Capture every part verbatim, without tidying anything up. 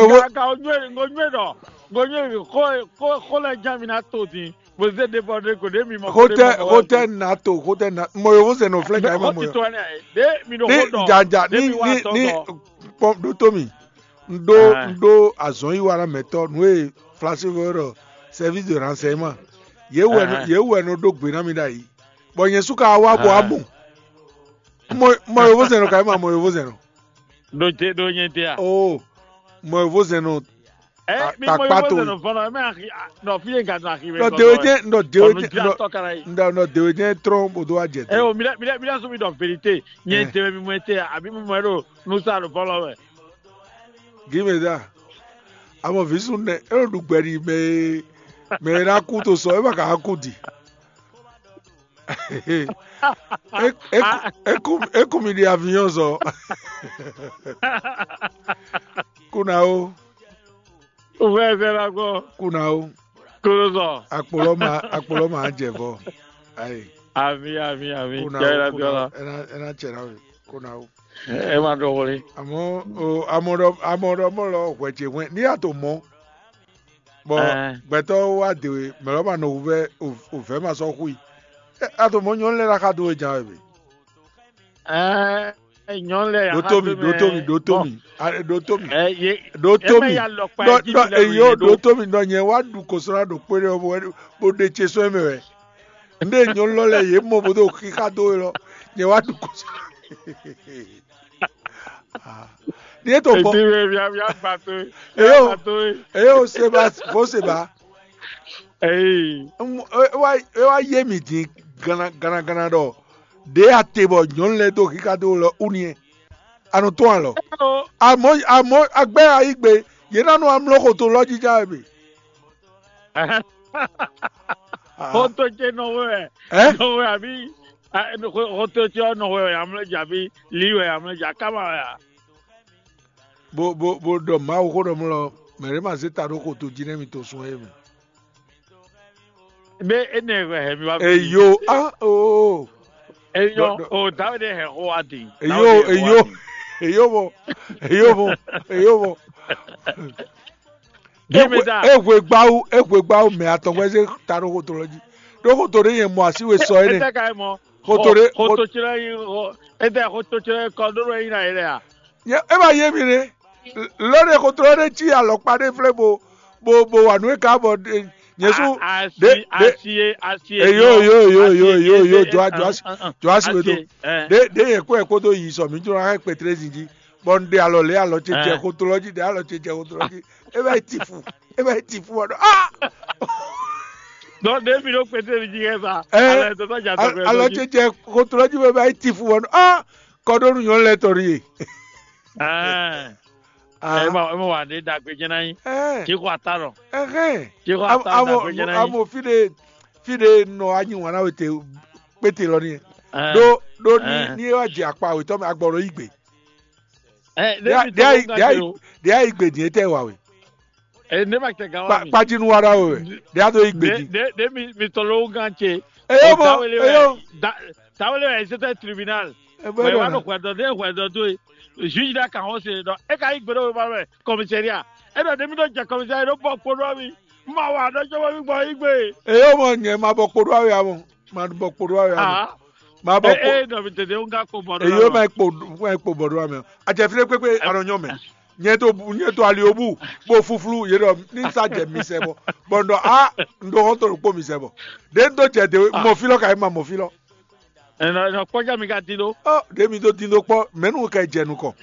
Kaka o nywɛ o nywɛ ɖɔ o nywɛ xɔ xɔ xɔ lɛ jan mi na to din. Mo zé ɖe bɔ ɖe ko ɖe mi mɔ. Xotɛ xotɛ nato xotɛ na mɔ yovo zɛn nɔ flɛ ka ma mɔ yɔ. Ɖe mi ɖo Ni xɔ dɔ. Jaja ni Ɖe mi wa ni tɔ ni dɔ. Kpɔn ɖo to mi. N ɖo Ah. N ɖo azɔn yi wa na mɛtɔ nu e flasi vɔ ɖɔ service de renseignement. Ye wɛ Ah. Ye wɛ nɔ ɖo gbe na mi ɖa yi. Bɔ nyɛ su ka wa bɔ Ah. Amu. Mɔ mɔ yovo zɛn nɔ ka ma mɔ yovo zɛn nɔ. Ɖo te ɖo nyɛ te a. Oh, mɔ yovo zɛn nɔ. Ɛ mi mɔ yovo zɛn nɔ fɔlɔ ɛ mɛ axi nɔ fi ye ga nɔ axi mɛ. Nɔ dewe jɛ nɔ dewe jɛ nɔ nɔ dewe jɛ trɔn bo do wa jɛ. Ɛ o mi lɛ mi lɛ mi lɛ sɔ mi dɔ verite nyɛ te mi mɔ te abi mi mɔ ɛ ɖo nusa ɖo fɔlɔ mɛ. Gimeza, amɔ visu nɛ e ɖo ɖu gbɛ ɖi mɛ e mɛ e na kú to sɔ e ma ka kú di. Eku mi ɖi avion zɔ. Kuna o. Uvɛ zɛ la gbɔ. Kuna o. Kolo zɔ. Akpolɔ ma akpolɔ ma jɛ vɔ. Ayi. Ami ami ami. Kuna o. Kuna o. Ena ena cɛ na we. Kuna o. Ema dɔ wole. Amɔ o amɔ dɔ amɔ dɔ mɔ lɔ hwɛ ce hwɛ ni a to mɔ. Bɔ gbɛtɔ́ wá de we mɛ lɔ ma nɔ wuvɛ ovɛ ma sɔ́ hu i. A to mɔ nyɔnu lɛ la xa do we jan we be. Ɛɛ nyɔnu lɛ ɖo to mi ɖo to mi ɖo to mi ɖo to mi ɖo to mi ɖɔ ɖɔ eyo ɖo to mi ɖɔ nyɛ wá ɖu kosɔna ɖo kpé ɖe bó ɖe ce sɔn mɛ wɛ. Nde nyɔnu lɔ lɛ yě mɔ bó ɖo xixa dó we lɔ nyɛ wá ɖu kosɔna. Ní é to kpɔ́n. Ètí wɛ bia bia gba tó. Eyo eyo seba fo seba. Eyi. E wá e wá yé mi dín gana gana gana ɖɔ ɖě a te bɔ nyɔ̌nu lɛ́ɛ dó xixa dó lɔ ú niɛ. A nɔ tɔ́n alɔ. Amɔ̌ amɔ̌ agbɛ́ ayí gbe yě ná nɔ amlɔ xo to lɔ jí já wɛ bě. Xotó ce nɔ hwe wɛ. Ɛ? Nɔ hwe àbí xotó ce ɔ́ nɔ hwe wɛ amlɔ́ jà àbí lǐ wɛ amlɔ́ jà káma wɛ a? Bo bo bo ɖɔ Mawu xó ɖɔ mlɔ mɛ ɖé ma zé ta ɖó xotó jí nɛ́ mi to sun é mɛ. Bé énɛ́ wɛ hɛ mi wá fi. Eyo a o. Enyɔ o Dawidi hɛ xó wá di. Eyo eyo eyo bo eyo bo eyo bo. Gímeda. Ehwe gbawu ehwe gbawu mɛ atɔn wɛ zé ta ɖó xotó lɔ jí. Ɖó xotó ɖé nyɛ mɔ así we sɔ énɛ́. Xotó ɖé xotó tsi lɛ yi ete xotó tsi lɛ kɔ ɖó lɔ yi na yi lɛ a? Nyɛ e ma yé mi ɖé. Lɔ ɖé xotó lɔ ɖé tsi alɔkpa ɖé flɛ bo bo bo wa nú e ka bɔ nyɛ su. Asi asi asi. Eyo eyo eyo eyo eyo eyo jɔ jɔ asi jɔ asi we to. Ɖé ɖé yɛ kó yɛ kó tó yi sɔ mi jɔ na hɛ kpɛtrɛ zin jí. Bɔ un ɖe alɔ lě alɔ ce jɛ xotó lɔ jí ɖe alɔ ce jɛ xotó lɔ jí. E va yi tifu e va yi tifu wɔ ɖɔ ah. Donc ɖe mi ɖo kpete mi jí kɛ sa. Ɛɛ alɔ ce jɛ xotó lɔ jí bɔ e va yi tifu wɔ ɖɔ ah. Kɔɖónu nyɔnu lɛ tɔ ɖi ye. Ɛɛ ema ema wa ɖe dagbe jɛ na nyi. Ɛɛ Tsi xɔ ata lɔ. Ɛhɛn. Tsi xɔ ata lɔ dagbe jɛ na nyi. Amo fi ɖe fi ɖe nɔ anyi wana wete kpete lɔ ni. Ɖo ɖo ni ni e wa jɛ akpa wetɔ mɛ agbɔ ɖo yi gbe. Ɖe ayi gbe din etɛ wa we. Ene ma tɛ gan wa mi. Kpajinu wa ɖa we wɛ ɖe a do yi gbe din. Ɖe mi mi tɔ ló gán ce. Eyo mo eyo. Tawele wɛ c'était tribunal. Mɛ wa ɖo hwɛdɔ ɖe hwɛdɔ do ye. Juge ɖa kan xɔ se ɖɔ e ka yi gbe ɖo wema mɛ commissariat. E ɖɔ ɖe mi ɖo jɛ commissariat ɖo bɔ kpo ɖo mi. Ma wa ɖɔ jɔ mi gbɔ yi gbe. Eyo mo nyɛ ma bɔ kpo ɖo awe amɔ. Ma bɔ kpo ɖo awe amɔ. Ma bɔ kpo. Ee nɔ mi tete ŋga kpo bɔ ɖo. Eyo ma kpo ma kpo bɔ ɖo amɛ. Adzɛ fi ɖe kpekpe anɔ nyɔ mɛ. Nyɛ to nyɛ to ali obu bo fuflu ye ɖɔ ni sa jɛ mi sɛ bɔ bɔ n ɖɔ a n ɖo hɔn to ɖokpo mi sɛ bɔ ɖe n do jɛ de mɔ fi lɔ ka yi ma mɔ fi lɔ. Ɛnɔ ɛnɔ kpɔdza mi ka di ɖo. Ɔ ɖe mi do di ɖo kpɔ mɛnu ka jɛ nukɔ.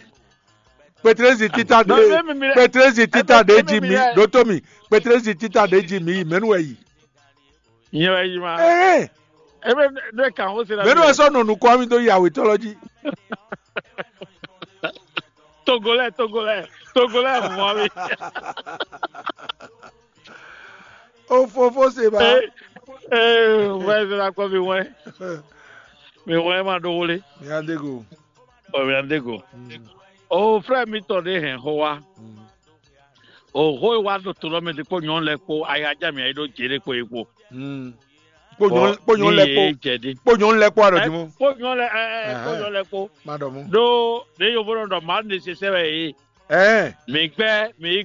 Petrezi tita ɖe petrezi tita ɖe ji mi ɖo to mi petrezi tita ɖe ji mi yi mɛnu wɛ yi. Nyɛ wɛ yi ma. Ɛɛ. Ebe ne kan o se la. Mɛ n'o sɔ nɔ nukɔ mi do yi awetɔ lɔ ji. Togolɛ togolɛ togolɛ mɔ mi. O fofo se ba. Ee ee wɛ se la kɔ mi wɛ. Mi wɛ ma ɖo wole. Mi adego. Ɔ mi adego. O frɛ mi tɔ de hɛn xo wa. Oxó e wá ɖo to lɔ mɛ ɖe kpó nyɔ̌nu lɛ́ɛ kpó ayájá mǐ ayí ɖó jě ɖé kpó é kpó. Kpó nyɔ̌nu lɛ́ɛ kpó jɛ ɖi. Kpó nyɔ̌nu lɛ́ɛ kpó aɖɔ jí mɔ. Kpó nyɔ̌nu lɛ́ɛ ɛ ɛ kpó nyɔ̌nu lɛ́ɛ kpó. Má ɖɔ mɔ. Ɖó ɖě yovo nɔ ɖɔ mǎ ɖe sesɛ wɛ yě. Ɛɛ. Mǐ gbɛ́ mǐ